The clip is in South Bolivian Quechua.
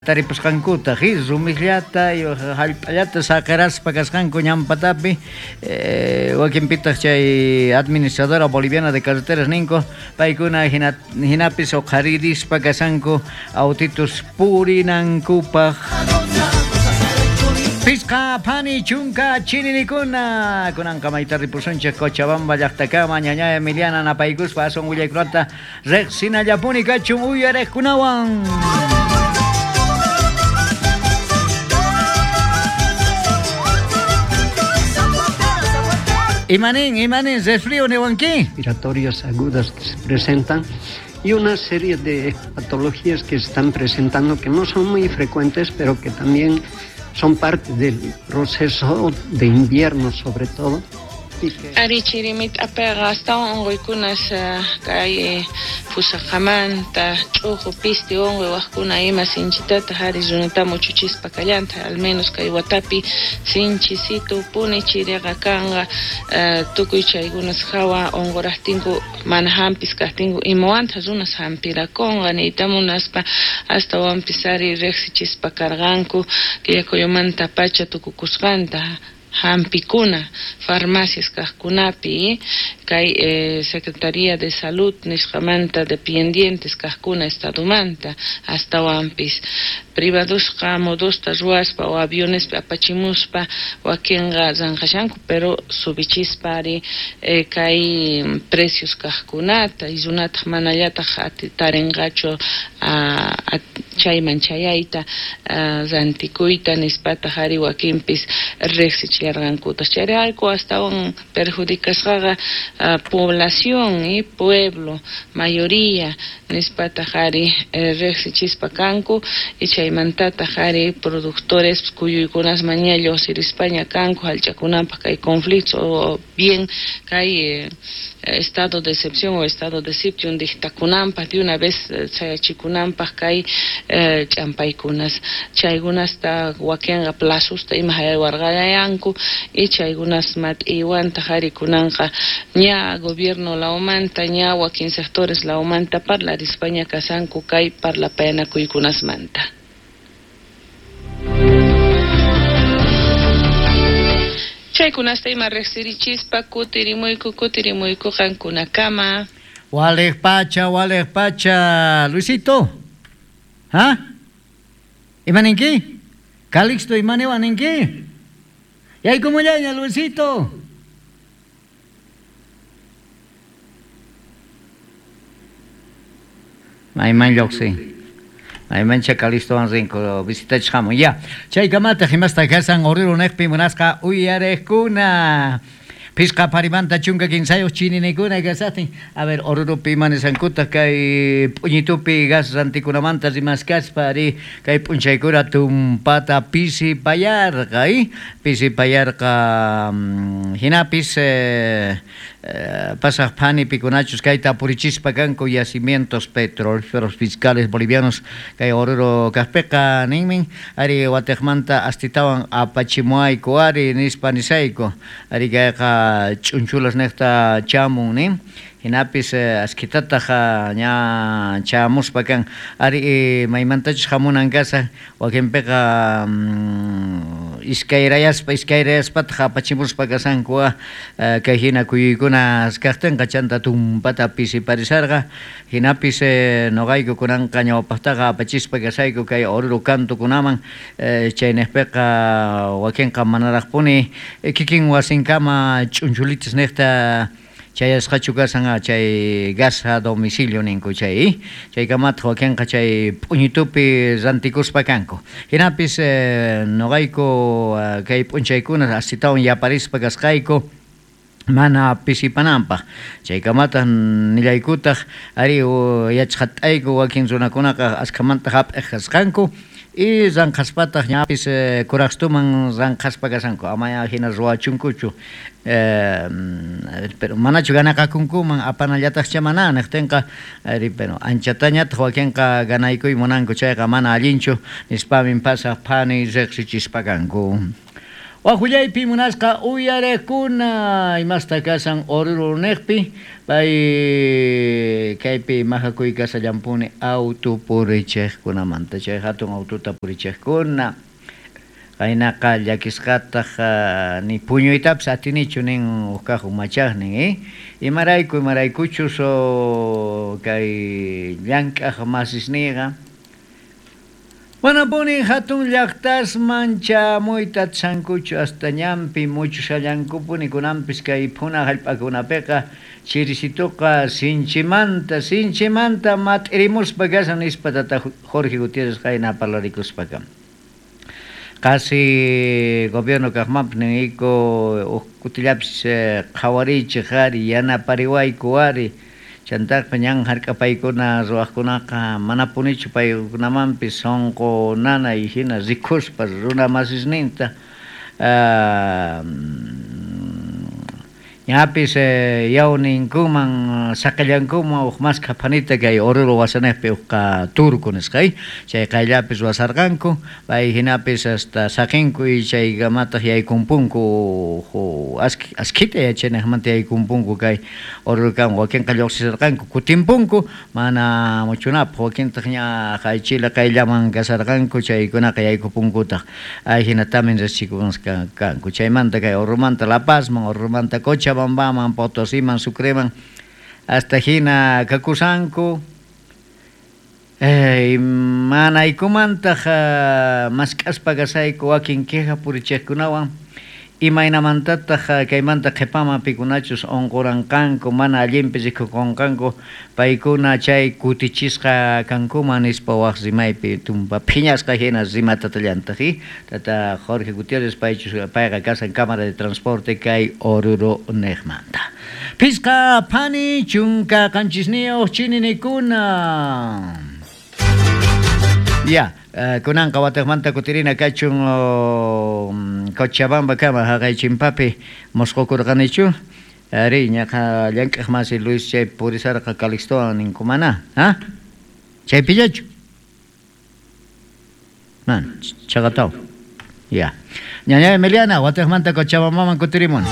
Taripusqankuta rumisllata jallp'allata saqeraspa kasqanku ñanpatapi wakinpitaq chay administradora boliviana de carreteras ninku paykuna hinapis uqharirispa kashanku autitos purinankupaq. Pisqa phani chunka chininikuna kunanqa mayta ripusunchik Cochabamba llaqtakama ñaña Emiliana napaykuspa aswan willaykunata riqsinallapuni kachun uyariqkunawan. Imanin, imanin, resfrío niwanki. Respiratorias agudas que se presentan y una serie de patologías que se están presentando que no son muy frecuentes, pero que también son parte del proceso de invierno sobre todo. Ari chirimit apeqa astawan unquykunas kay pusaqamanta ch'uju pisti unquy wajkuna ima sinchitataq ari runata muchuchispa kallanta al menos kay watapi sinchisitu puni chiriqa kanqa tukuy chaykunas hawa unquraqtinku mana hampis kaqtinku imawanta runas hampirakunqa niyta munaspa astawanpis ari riqsichispa karqanku killakuyumanta pacha tukukusqanta hampikuna farmacias kaqkunapi kay Secretaría de Salud nisqamanta dependientes kaqkuna estadomanta astawanpis privadosqa modosta ruwaspa o avionespi apachimuspa wakinqa ranqashanku pero subichispa ari kay precios kaqkunata y runataq manallataq tarinqachu chayman chayayta rantikuyta nispataq ari wakinpis riqsichillarqankutaq chayrayku astawan perjudicasqaqa población y pueblo mayoría nispataq ari riqsichispa kanku y chaymantataq ari productores kuyuykunas maña lluqsirispaña kanku hallch'akunanpaq kay conflictos o bien kay estado de excepción o estado de sitio dictakunanpaq de una vez chayachikunanpaq kay ch'ampaykunas chaykunasta wakinqa plazosta ima haywarqayanku y chaykunas mat'iwantaq ari kunanqa ña gobierno lawmanta ña wakin sectores lawmanta parlarispaña kasanku kay parlapayanakuykunasmanta. Chaykunasta ima riqsirichispa kutirimuyku kutirimuyku qankunakama. Waliq pacha, Luisito. ¿Ah? ¿Imaninki? Calixto imaniwaninki? Yaykumullaña, Luisito. Mayman lluqsin. Maymancha Calixtowan rinku visitachhamun. Ya, chaykamataq imasta kasan Oruro niqpi munasqa uyariqkuna. Pisqa parimanta chunka kinsayuq chininikuna kasaqtin. A ver, Oruropi imanisankutaq kay p'uñitupi gas rantikunamanta rimaskaspa ari kay p'unchaykuna tumpata pisipayarqa, pisipayarqa hinapis pasaq phani pikunachus kayta apurichispa kanku yacimientos petrolíferos fiscales bolivianos kay Oruro kaqpiqa ninmin ari watiqmanta astitawan apachimuayku ari nispa nisayku ari kayqa ch'unchulas niqta chamun nin hinapis askitataq ña chamuspa kan ari maymantachus hamunan kasaq wakinpiqa iskayrayaspataq apachimuspa kasanku kay hina kuyuykuna kaqtinqa chanta tumpata pisiparisarqa hinapis noqayku kunanqa ñawpaqtaqa apachispa kasayku kay Oruro kantukunaman chayniqpiqa wakinqa manaraqpuni kikin wasinkama ch'unchulitas niqta chayasqachu kasan chay gas a domicilio ninku chay chaykamataq wakinqa chay p'uñitupi rantikuspa kanku hinapis noqayku kay p'unchaykuna astitawan yaparispa kasqayku mana pisipananpaq chaykamataq nillaykutaq ari yachqat'ayku wakin runakunaqa askhamanta hap'iq kasqanku y ranqhaspataq ñapis kuraqstuman ranqhaspa kasanku amaya hina ruwachunkuchu pero manachu ganaqakunkuman apanallataqcha mana niqtinqa ari pero anchatañataq wakinqa ganaykuy munanku chayqa mana allinchu nispamin pasaq phani riqsichispa kanku. Wajullaypi munasqa uyarejkuna imasta kasan Oruro neqpi pay kaypi majakuy kasallampuni auto purichejkunamanta chay hatun autota purichejkuna qaynaqa llakisqataq ni puñuytapis atinichu nin uj kaq umachaqnin imarayku imaraykuchus kay llank'aq masisniyqa manapuni hatun llaqtasman chamuyta atishankuchu hasta ñanpi muchushallankupuni kunanpis kay phuna hallp'akunapiqa chirisituqa sinchimanta sinchimanta mat'irimuspa kashan nispa tata Jorge Gutiérrez qayna parlarikuspaqa. Qasi gobierno kaqmanpis niyku uj kutillapis qhawariychik ari yanapariwayku ari chantaqpa ñan hark'apaykuna ruwaqkunaqa manapunichu paykunamanpis sunqu nanay hina rikuspa runa masisninta ñapis yawninkuman saqillankuman uj maskha phanita kay Oruro wasanejpi ujqa turco nisqa chay qayllapis ruwasarqanku pay hinapis hasta saqinku y chaykamataq yaykunpunku askhita yachanejmanta yaykunpunku kay Orurokaman wakinqa lluqsisharqanku kutinpunku mana muchunapaq wakintaq ña chile qayllaman kasarqanku chaykunaqa yaykupunkutaq ay hinatamin riqsichikusqa kanku chaymanta kay Oruromanta La Pazman Oruromanta Cochabambaman Potosiman Sucreman hasta hina kakusanku manaykumantaq mask'aspa kasayku wakin queja purichejkunawan imaynamantataq kaymanta qhipaman pikunachus unquranqanku mana allinpi rikukunqanku paykuna chay kutichisqa kankuman nispa waq rimaypi tumpa phiñasqa hina rimatatallantaq tata Jorge Gutiérrez paychus payqa kasan Cámara de Transporte kay Oruro neqmanta. Phisqa phani chunka qanchisniyuq chininikuna. Ya, kunanqa watiqmanta kutirina kachun Cochabamba kama haqay chimpapi musqukurqanichu ari ñaqa llank'aq masi Luis chay purisarqa Calixtowan ninkumana ha chaypillachu man chaqataw ya ñaña Emiliana watiqmanta Cochabambaman kutirimun.